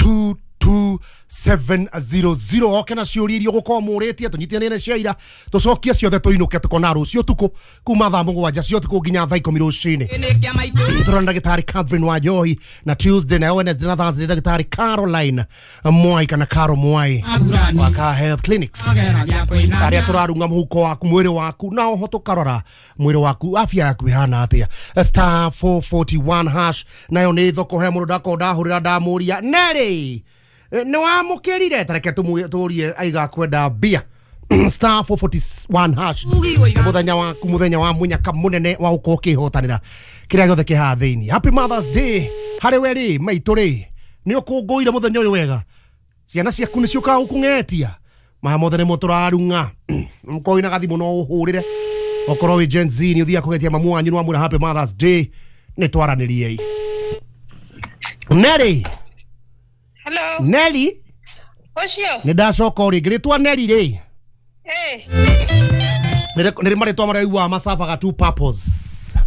2 700 oke na ciũria iria ũgũkorwo mũrĩtie tũnyitanĩre cia ira tũcokie ciothe tũinũke tũkona rũciũ ũtukũ kuma thaa 7 cia ũtukũ nginya thaa 10 rũcinĩ. Tũrona ndagĩtarĩ Catherine Wanjohi na Tuesday na Wednesday na Thursday ndagĩtarĩ Caroline Mwai kana Caro Mwai wa Car Health Clinics arĩa tũrarunga mũhuko waku mwĩrĩ waku na oho tũkarora mwĩrĩ waku afya yaku ĩhana atĩa. Star 441 hash nayo nĩ thoko he mũndũ ndakorwo ndahũrĩra ndamũria Nelly nĩ wamũkĩrire tareke tũrie aiga kwenda mbia. Star 441 hash mũthenya waku mũthenya wa mũnyaka mũnene wa ũkorwo ũkĩhotanĩra kĩrĩa gĩothe kĩ haha thĩinĩ. Happy Mother's Day harĩ we rĩ maitũ rĩ nĩ ũkũngũire mũthenya ũyũ wega, ciana ciaku nĩ ciũkaga gũkũng'etia maya mothe nĩmo tũrarung'a. Mũkorwo wĩna gathimũ no ũhũrĩre, okorwo wĩ Gen Z nĩ ũthiaga kũgetia mamu wanyu nĩ wamwĩra Happy Mother's Day, nĩ twaranĩriei. Nelly. Hello. Nelly. Ũcio. Nĩ ndacoka o rĩngĩ rĩtwa Nelly rĩ. Eh. Nĩ marĩtwa marĩa ũiguaga macabaga two purpose.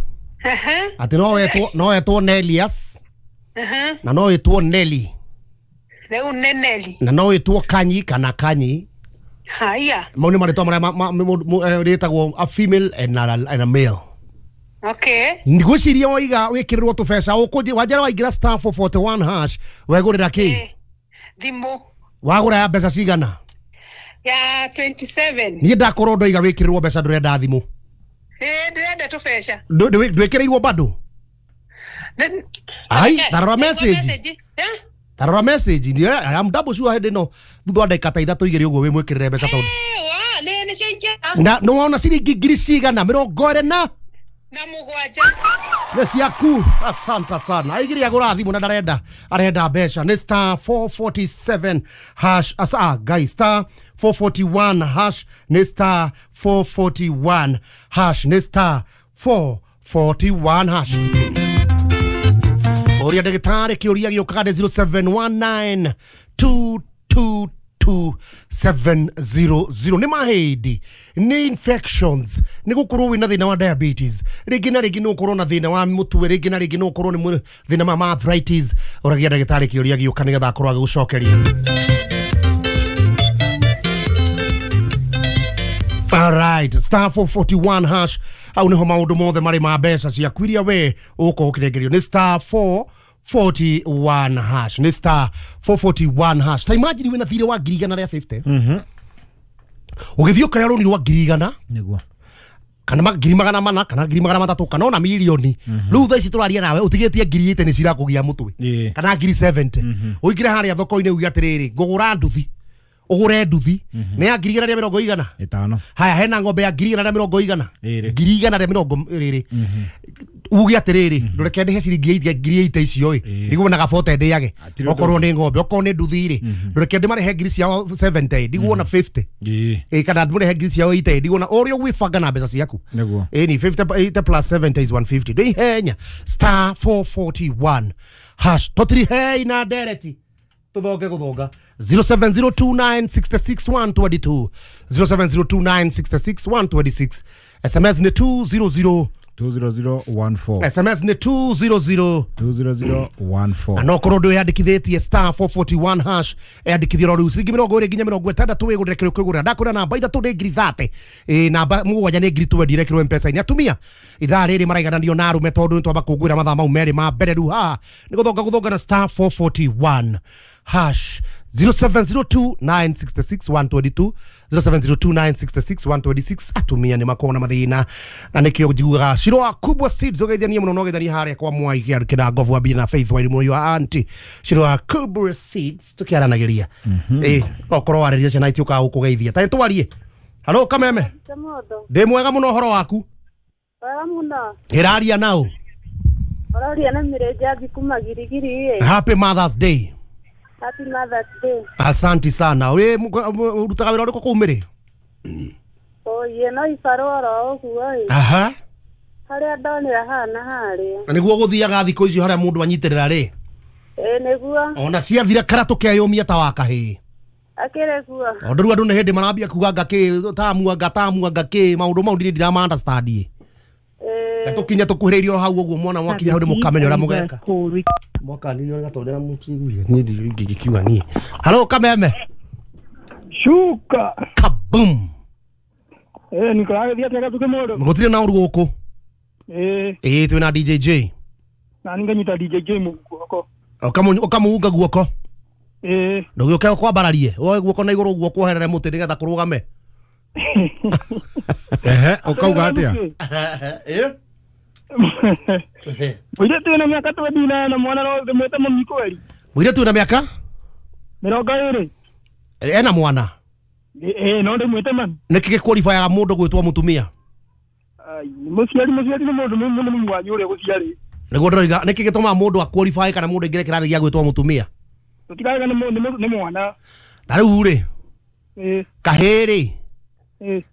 Atĩ no wetwo Nelias. Na no wĩtwo Nelly. Rĩu nĩ Nelly. Na no wĩtwo Kanyi kana Kanyi. Haya. Mau nĩ marĩtwa marĩa rĩtagwo a female and a male. Okay. Ngwĩciria waiga wĩkĩrĩrwo tũbeca ũkũnjĩ wanjara waingĩra star 441 hash wegũrĩra kĩ? Thimũ. Wagũra ya mbeca cigana? Ya 27. Niĩ ndakorwo ndoiga wĩkĩrĩrwo mbeca ndũrenda thimũ. Ndĩrenda tũbeca. Ndwĩkĩrĩirwo bado? Ai, tarora message. Tarora message. I am double sure hĩndĩ ĩno thutha wa ndagĩka ta 3 2 ũguo wĩmwĩkĩrĩre mbeca tondũ. Nĩ ciaingĩra. Na nĩ wona ciringi ngiri cigana 27. Na mũgwanja. Nĩ ciaku. Asante sana. Aigiri agũra thimũ na ndarenda arenda mbeca. Nĩ star 447 hash asa guys star 441 hash nĩ star 441 hash nĩ star 441 hash. Ũria ndagĩtarĩ kĩũria gĩũkaga nĩ 0719 222 700. Nĩ mahĩndĩ, nĩ infections, nĩ gũkorwo wĩna thĩna wa diabetes, rĩngĩ na rĩngĩ nĩ ũkorwo na thĩna wa mũtwe, rĩngĩ na rĩngĩ nĩ ũkorwo nĩ thĩna wa arthritis. Ũragia ndagĩtarĩ kĩũria gĩũka nĩgetha akorwo agĩgũcokeria. All right, star 441 hash au niho maũndũ mothe marĩ ma mbeca ciaku iria we ũgũkorwo ũkĩrengerio nĩ star 441 hash nĩ star 441 hash. Ta imagine wĩna thirĩ wa 150. Ũgĩthiĩ ũkaya rũni rwa 100,000 nĩguo kana 400,000 kana 300,000 kana ona milioni. Rĩu thaa ici tũraria nawe ũtigĩtie 80,000 nĩ cirakũgia mũtwe kana 70,000. Ũingĩre harĩa thoko-inĩ uge atĩrĩrĩ ngũgũra nduthi, ũgũre nduthi nĩ ya 150,000. Haya hena ng'ombe ya 120,000 120,000. Uge atĩrĩrĩ ndũreke ndĩhe ciringi 80,000 icio ĩ ndiguona gabote ndĩage okorwo nĩ ng'ombe okorwo nĩ nduthi rĩ ndũreke ndĩmarĩhe ngiri ciao 70 ndiguona 50 ĩ kana ndĩmũrĩhe ngiri ciao 80 ndiguona ũrĩa ũgwĩbanga na mbeca ciaku ĩ ni 50 80 plus 70 is 150. Ndĩihenya star 441 hash tũtirihei na ndereti tũthonge gũthonga 0702966 122 0702966 126. SMS nĩ 200 20014. SMS nĩ 200 20014. Na no korwo ndwĩyandĩkithĩtie star 441 hash yandĩkithio rĩu ciringi 20 nginya 60 wĩgũrĩre kĩrĩa ũkwĩgũrĩra. Ndakwĩra namba 3 nĩ ngiri 30 namba 7 nĩ ngiri 20 irekĩrwo M-Pesa-inĩ. Atumia ithaa rĩrĩ maraigananio na arũme tondũ nĩ twamba kũngũĩra mathaa mau merĩ ma mbere. Rĩu haha nĩ gũthonga gũthonga na star 441 hash 0702 966 122 0702 966 126. Atumia nĩ makoragwo na mathĩna na nĩkĩo njiguaga Shiroa Kubwa Seeds ũgeithanie mũno na ũgeithanie harĩa kwa Mwai kĩna Ngovu wa na Faith Wairimu your auntie Shiroa Kubwa Seeds tũkĩaranagĩria okorwo warĩria ciana itiũkaga gũkũgeithia ta nĩtwarie. Halo Kameme. Ndĩ mwega mũno ũhoro waku? Wega mũno. Ĩraria nao? Ũraria na Mĩrĩnjabi kuma Girigiri. Happy Mother's Day. Happy Mother's Day. Asante sana. We urutaga wĩra ũrĩkũ kũu Mĩrĩ? Oye no ibarũa oro ũguo ĩ. Aha. Harĩa ndonera haha na harĩa. Na nĩguo gũthiaga thikũ icio harĩa mũndũ anyitĩrĩra rĩ? Ĩ nĩguo. Ona ciathira karatũ keyũmia ta wa kahĩĩ. Akĩrĩ guo. Tondũ rĩu andũ nĩ hĩndĩ marambia kuga anga kĩ tamu anga kĩ maũndũ mau ndirĩ ndirama understand ĩ. Tũkinye tũkuhĩrĩirie o hau ũguo mwana mwakinya hau nĩ mũkamenya ũrĩa mũgeka. Mwaka nini ũrĩa gatondera mũkiguire niĩ ndingĩkiuga niĩ. Halo Kameme. Shuka. Kaboom. Nĩkũragĩthiĩ atĩa Gatuke mũndũ? Gũtirĩ na ũru gũkũ. Ĩĩ twĩna DJ J. Na niĩ nganyita DJ J guoko. Ũkamũunga guoko. Ĩĩ. Ndũgĩũke ũkwambararie. Woe guoko na igũrũ ũguo kuoherere mũtĩ nĩgetha kũrũgame. Ehe, ũkauga atĩa? Ĩĩ. Mũirĩtu wĩna mĩaka 29 mwana no ndĩmwĩte mami kweri. Mũirĩtu wĩna mĩaka? 20. Ena mwana? Ĩĩ no ndĩmwĩte mami. Nĩkĩ gĩqualifyaga mũndũ gwĩtwo mũtumia? Ai, mũciari nĩ mũndũ mũnene wanyu ũrĩa gũciarĩ. Nĩguo ndĩroiga nĩkĩ gĩtũmaga mũndũ aqualify kana mũndũ aingĩre kĩrathi gĩa gwĩtwo mũtumia? Tũtirauga nĩ mwana. Ta rĩu rĩ, kahĩĩ rĩ,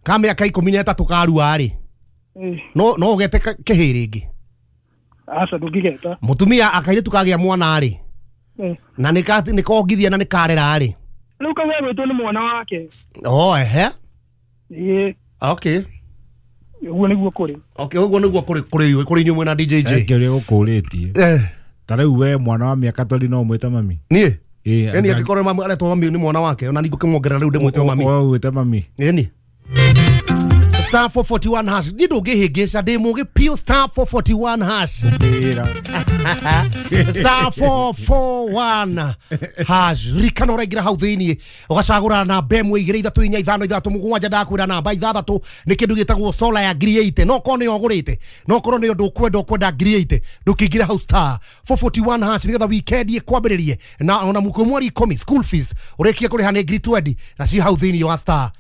ka mĩaka 13 karua rĩ, no ũgete kĩhĩĩ rĩngĩ? Aca ndũngĩgeta. Mũtumia akairĩtu kagĩa mwana rĩ, na nĩkongithia na nĩkarera rĩ, rĩu kau egwĩtwo nĩ mwana wake. Oh, ehe. Ĩĩ. Okay. Ũguo nĩguo kũrĩ. Okay, ũguo nĩguo kũrĩ kũrĩ inyuĩ mwĩna DJ J. Kĩũria gũkũrĩtie. Ta rĩu we mwana wa mĩaka 20 no ũmwĩte mami? Niĩ? Ĩni angĩkorwo mami aretwo mami nĩ mwana wake ona ningũkĩmuongerera rĩu ndĩmwĩte mami. Ũgwĩte mami. Ĩni. Star 441 hash. Niĩ ndũngĩhĩngĩca ndĩ mũgĩ piũ. Star 441 hash. Star 441 hash. Ririkana ũraingĩra hau thĩiniĩ ũgacagũra namba 1 2 3 4 5 6 7 ndakwĩra namba 6 nĩ kĩndũ gĩtagwo solar ya 80,000. No korwo nĩyo ũgũrĩte, no korwo nĩyo ndũkwenda ũkwenda 80,000 ndũkĩingĩra hau star 441 hash nĩgetha weekend ĩkwambĩrĩrie na ona mũkũ mweri 10 school fees ũrĩkie kũrĩha nĩ 20,000 na ci hau thĩiniĩ wa star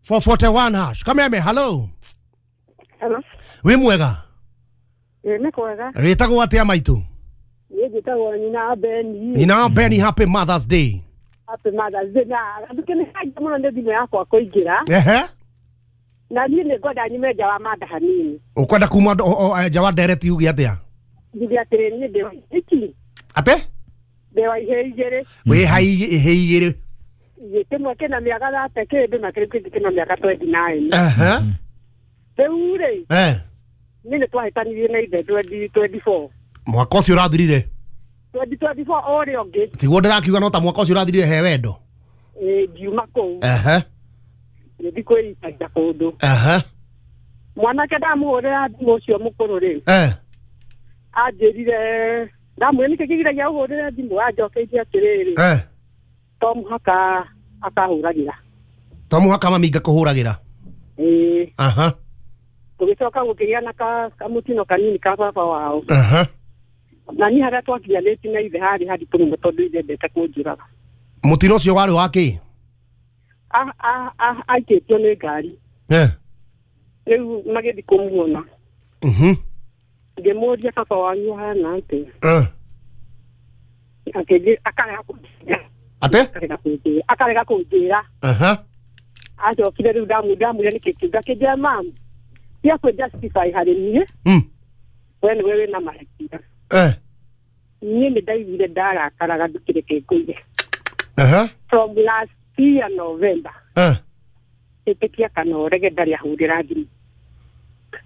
441 hash. Kameme, hello. Hello. Wĩ mwega? Nĩ kwega. Rĩtagwo atĩa maitũ? Niĩ njĩtagwo nyina Beni. Nyina Beni, happy Mother's Day. Happy Mother's Day. Na Gatuke nĩ haja mũno nĩ thimũ yakwa kũingĩra. Ehe. Na niĩ nĩ ngwenda nyume nja wa mada hanini. Ũkwenda kuma nja wa ndereti uge atĩa? Njuge atĩrĩ niĩ ndĩ wa iki. Ate? Ndĩ wa ihĩĩ igĩrĩ. Wĩ ha ihĩĩ igĩrĩ? Kĩmwe kĩna mĩaka 30 kĩndũ na kĩrĩa kĩngĩ kĩna mĩaka 29. Ehe. Rĩu rĩ, niĩ nĩ twahĩtanirie na ithe 2024. Mwaka ũcio ũrathirire? 2024 ũrĩa ũngĩ. Tiguo ndĩrakiuga no ta mwaka ũcio ũrathirire he wendo? Ĩĩ ngiuma kũu. Ehe. Ngĩthiĩ kwĩicaria kũndũ. Ehe. Mwanake ndamũhũrĩra thimũ ũcio mũkũrũ rĩ, anjĩrire ndamwĩra nĩkĩ kĩgiragia ũhũrĩre thimũ, anjokeirie atĩrĩrĩ, to mũhaka akahũragĩra. To mũhaka mami ngakũhũragĩra? Ĩĩ. Aha. Tũgĩcoka gũkĩgĩa na kamũtino kanini ka baba wao. Aha. Na niĩ harĩa twakinyanĩtie na ithe harĩ haritũ mũno tondũ ithe endete kũnjũraga. Mũtino ũcio warĩ wa kĩ? Aikĩtio nĩ ngari. Rĩu magĩthiĩ kũmuona. Ngĩmũria baba wanyu ahana atĩa? Akarega kũnjĩra. Ate? Akarega kũnjĩra. Aha. Acokire rĩu ndamwĩra nĩkĩ kĩu, akĩnjĩra mamu tia kwĩ justify harĩ niĩ. We nĩwe wĩna mahĩtia. Niĩ nĩ ndaiguire ndarakaraga ndũkĩreke ngũire. Aha. From last year November. Ĩtĩkia kana ũrege ndarĩ ahũrĩra thimũ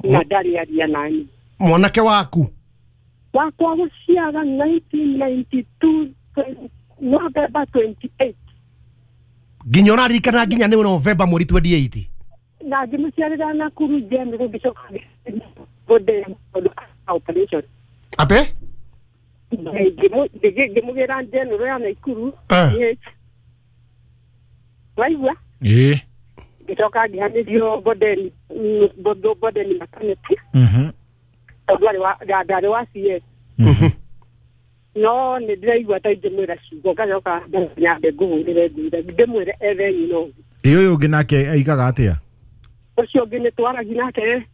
na ndarĩ aria nani. Mwanake waku? Wakwa gũciara 1992 November 28. Nginya ũraririkana nginya nĩ November mweri 28? Na ngĩmũciarĩra Nakuru General ngĩcoka ngĩmũ operation. Ate? Ngĩmũgĩra General ya Nakuru. Waigua? Ĩĩ. Ngĩcoka ngĩhanĩrio Bondeni maternity. Tondũ ndarĩ wa CS. No nĩ ndĩraigua ta ingĩmwĩra ciugo ngacoka nyambe ngũhũrĩre ngwĩre ndĩmwĩre ethe nyina ũngĩ. Ĩ ũyũ ũngĩ nake aigaga atĩa? Ũcio ũngĩ nĩ twaragia nake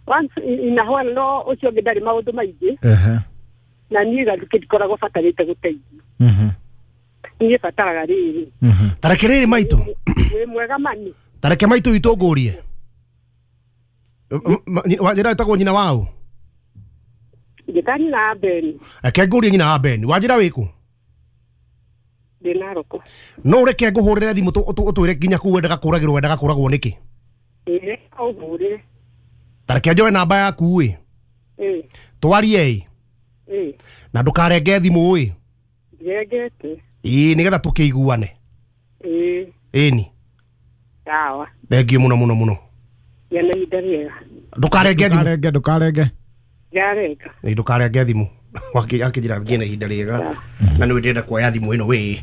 once in a while, no ũcio ũngĩ ndarĩ maũndũ maingĩ. Na niĩ Gatuke ndikoragwo batarĩte gũteithio. Niĩ bataraga rĩrĩ. Tareke rĩrĩ maitũ. Wĩ mwega mani. Tareke maitũ witũ ngũrie. Wanjĩra ĩtagwo nyina waũ? Njĩta nyina wa Beni. Reke ngũrie nyina wa Beni. Wanjĩra wĩkũ? Ndĩ Naroko. No ũreke ngũhũrĩre thimũ ũtwĩre nginya kũu wendaga kũragĩrwo wendaga kũragwo nĩkĩ? Ĩĩ, ũhũrĩre. Tareke njoe namba yaku ĩ. Twarie ĩ. Na ndũkarenge thimũ ĩ. Ndirengete. Ĩ nĩgetha tũkĩiguane. Ĩni. Sawa. Thengiũ mũno mũno mũno. Gĩa na ihinda rĩega. Ndũkarenge thimũ. Ndũkarenge, ndũkarenge. Ndirarenga. Ĩ ndũkarenge thimũ. Akĩnjĩra ngĩe na ihinda rĩega. Na nĩ ndĩrenda kuoya thimũ ĩno wĩ.